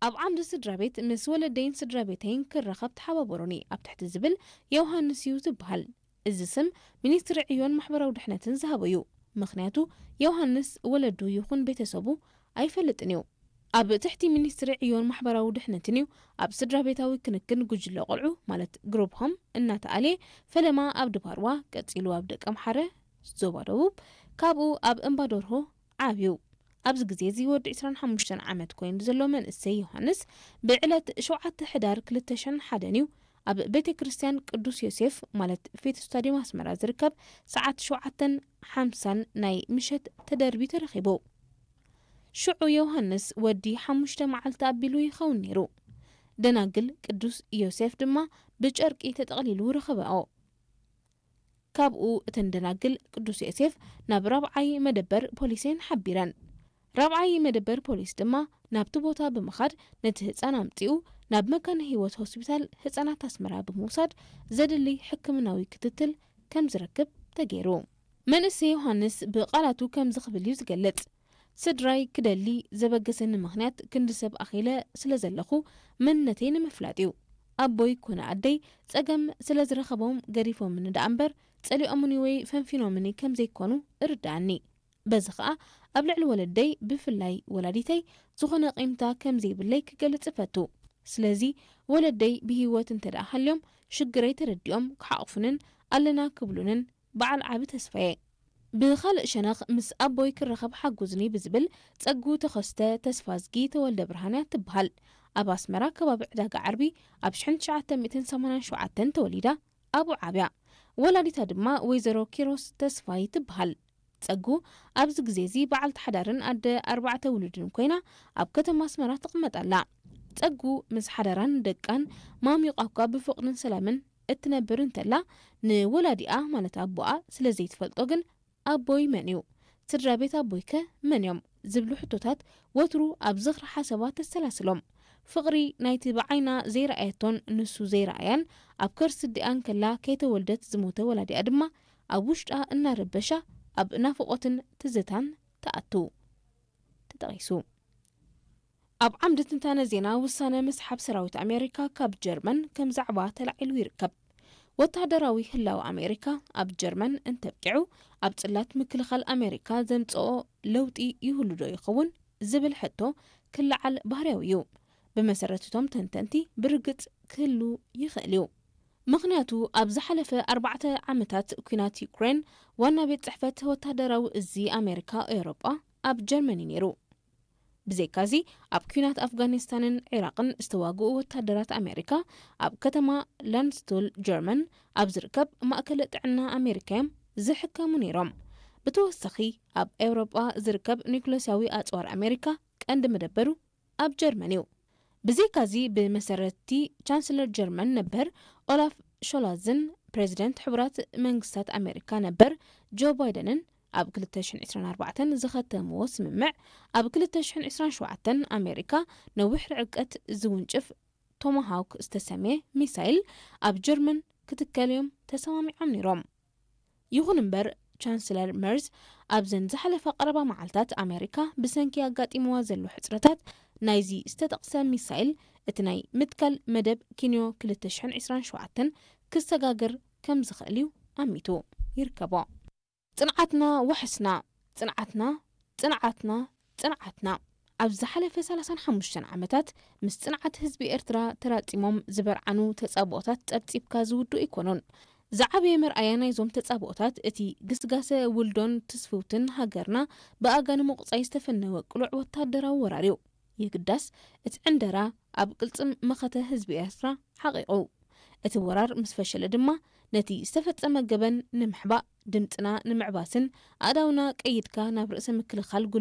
ኣብ ዓምዲ ስድራ ቤት ምስ ወለደይን ስድራ ቤተይን ክራኸብ ተሓባበሩኒ ኣብ ትሕቲ ዝብል ዮሃንስ እዩ ዝበሃል። እዚ ስም ሚኒስትሪ ዕዮን ማሕበራዊ ድሕነትን ዝሃቦ እዩ። ምኽንያቱ ዮሃንስ ወለዱ ይኹን ቤተሰቡ ኣይፈልጥን እዩ። ኣብ ትሕቲ ሚኒስትሪ ዕዮን ማሕበራዊ ድሕነትን እዩ ኣብ ስድራ ቤታዊ ክንክን ጉጅለ ቆልዑ ማለት ግሩፕ ሆም እናተኣልየ፣ ፈለማ ኣብ ድባርዋ፣ ቀጺሉ ኣብ ደቀምሓረ ዞባ ደቡብ፣ ካብኡ ኣብ እምባዶርሆ ዓብዩ። ኣብዚ ግዜ እዚ ወዲ ዕስራን ሓሙሽተን ዓመት ኮይኑ ዘሎ መንእሰይ ዮሃንስ ብዕለት ሸውዓተ ሕዳር ክልተ ሽሕን ሓደን እዩ ኣብ ቤተ ክርስቲያን ቅዱስ ዮሴፍ ማለት ፌቱ ስታዲየም ኣስመራ ዝርከብ ሰዓት ሸውዓተን ሓምሳን ናይ ምሸት ተደርቢ ተረኺቡ። ሽዑ ዮሃንስ ወዲ ሓሙሽተ መዓልቲ ኣቢሉ ይኸውን ነይሩ። ደናግል ቅዱስ ዮሴፍ ድማ ብጨርቂ ተጠቕሊሉ ረኸበኦ። ካብኡ እተን ደናግል ቅዱስ ዮሴፍ ናብ ራብዓይ መደበር ፖሊስ እየን ሓቢረን። ራብዓይ መደበር ፖሊስ ድማ ናብቲ ቦታ ብምኻድ ነቲ ህጻን ኣምጺኡ ናብ መካነ ህይወት ሆስፒታል ህጻናት ኣስመራ ብምውሳድ ዘድሊ ሕክምናዊ ክትትል ከም ዝረክብ ተገይሩ። መንእሰይ ዮሃንስ ብቓላቱ ከምዚ ክብል እዩ ዝገልጽ። ስድራይ ክደሊ ዘበገሰኒ ምኽንያት ክንዲ ሰብ ኣኺለ ስለ ዘለኹ መንነተይ ንምፍላጥ እዩ። ኣቦይ ኮነ ኣደይ ጸገም ስለ ዝረኸቦም ገዲፎምኒ ደኣ እምበር ጸሊኦምኒ ወይ ፈንፊኖምኒ ከም ዘይኮኑ እርድኣኒ። በዚ ኸኣ ኣብ ልዕሊ ወለደይ ብፍላይ ወላዲተይ ዝኾነ ቂምታ ከም ዘይብለይ ክገልጽ እፈቱ። ስለዚ ወለደይ ብህይወት እንተ ደኣ ሃልዮም ሽግረይ ተረዲኦም ክሓቕፉንን ኣለና ክብሉንን በዓል ዓቢ ተስፋየ። ብኻልእ ሸነኽ ምስ ኣቦይ ክራኸብ ሓጉዝኒ ብዝብል ጸጉ ተኸስተ ተስፋዝጊ ተወልደ ብርሃንያ ትበሃል። ኣብ ኣስመራ ከባቢ ዕዳጋ ዓርቢ ኣብ ሽሕን ትሽዓተ ሚእትን ሰማንያን ሸውዓተን ተወሊዳ ኣብኡ ዓብያ። ወላዲታ ድማ ወይዘሮ ኪሮስ ተስፋይ ትበሃል። ጸጉ ኣብዚ ግዜ እዚ በዓልቲ ሓዳርን ኣደ ኣርባዕተ ውሉድን ኮይና ኣብ ከተማ ኣስመራ ትቕመጥ ኣላ። ጸጉ ምስ ሓዳራን ደቃን ማሚቋ እኳ ብፍቕርን ሰላምን እትነብር እንተላ ንወላዲኣ ማለት ኣቦኣ ስለ ዘይትፈልጦ ግን ኣቦይ መን እዩ? ስድራ ቤት ኣቦይከ መን እዮም? ዝብሉ ሕቶታት ወትሩ ኣብ ዝኽሪ ሓሳባ ተሰላስሎም። ፍቕሪ ናይቲ ብዓይና ዘይረኣየቶን ንሱ ዘይረኣያን ኣብ ከርሲ ኣዲኣን ከላ ከይተወልደት ዝሞተ ወላዲኣ ድማ ኣብ ውሽጣ እናረበሻ ኣብ ናፍቖትን ትዝታን ትኣቱ። ተጠቒሱ። ኣብ ዓምዲ ትንታነ ዜና ውሳነ ምስሓብ ሰራዊት ኣሜሪካ ካብ ጀርመን ከም ዛዕባ ተላዒሉ ይርከብ። ወተሃደራዊ ህላወ ኣሜሪካ ኣብ ጀርመን እንተብቂዑ ኣብ ጽላት ምክልኻል ኣሜሪካ ዘምጽኦ ለውጢ ይህሉ ዶ ይኸውን ዝብል ሕቶ ክለዓል ባህርያዊ እዩ። ብመሰረት እቶም ተንተንቲ ብርግጽ ክህሉ ይኽእል እዩ። ምኽንያቱ ኣብ ዝሓለፈ ኣርባዕተ ዓመታት ኲናት ዩክሬን ዋና ቤት ጽሕፈት ወተሃደራዊ እዚ ኣሜሪካ ኤውሮጳ ኣብ ጀርመን እዩ ነይሩ። ብዘይካዚ ኣብ ኲናት ኣፍጋኒስታንን ዒራቕን ዝተዋግኡ ወታደራት ኣሜሪካ ኣብ ከተማ ላንድስቱል ጀርመን ኣብ ዝርከብ ማእከል ጥዕና ኣሜሪካ እዮም ዝሕከሙ ነይሮም። ብተወሳኺ ኣብ ኤውሮጳ ዝርከብ ኒውክለስያዊ ኣጽዋር ኣሜሪካ ቀንዲ መደበሩ ኣብ ጀርመን እዩ። ብዘይካዚ ብመሰረትቲ ቻንስለር ጀርመን ነበር ኦላፍ ሾላዝን ፕሬዚደንት ሕቡራት መንግስታት ኣሜሪካ ነበር ጆ ባይደንን ኣብ ክልተ ሽሕን ዕስራን ኣርባዕተን ዝኸተምዎ ስምምዕ ኣብ ክልተ ሽሕን ዕስራን ሸውዓተን ኣሜሪካ ነዊሕ ርዕቀት ዝውንጭፍ ቶማሃውክ ዝተሰምየ ሚሳይል ኣብ ጀርመን ክትከል እዮም ተሰማሚዖም ነይሮም። ይኹን እምበር ቻንስለር መርዝ ኣብዘን ዝሓለፋ ቀረባ መዓልታት ኣሜሪካ ብሰንኪ ኣጋጢምዋ ዘሎ ሕጽረታት ናይዚ ዝተጠቕሰ ሚሳይል እቲ ናይ ምትካል መደብ ኪንዮ ክልተ ሽሕን ዕስራን ሸውዓተን ክሰጋገር ከም ዝኽእል እዩ ኣሚቱ ይርከቦ። ጽንዓትና ዋሕስና፣ ጽንዓትና፣ ጽንዓትና፣ ጽንዓትና። ኣብ ዝሓለፈ ሰላሳን ሓሙሽተን ዓመታት ምስ ጽንዓት ህዝቢ ኤርትራ ተራጺሞም ዝበርዓኑ ተጻብኦታት ጸብጺብካ ዝውድኡ ኣይኮኑን። ዝዓበየ መርኣያ ናይዞም ተጻብኦታት እቲ ግስጋሰ ውልዶን ትስፍውትን ሃገርና ብኣጋ ንምቑጻይ ዝተፈነወ ቅሉዕ ወታደራዊ ወራር እዩ። የግዳስ እቲ ዕንደራ ኣብ ቅልጽም መኸተ ህዝቢ ኤርትራ ሓቒቑ። እቲ ወራር ምስ ፈሸለ ድማ ነቲ ዝተፈጸመ ገበን ንምሕባእ፣ ድምጽና ንምዕባስን ኣእዳውና ቀይድካ ናብ ርእሰ ምክልኻል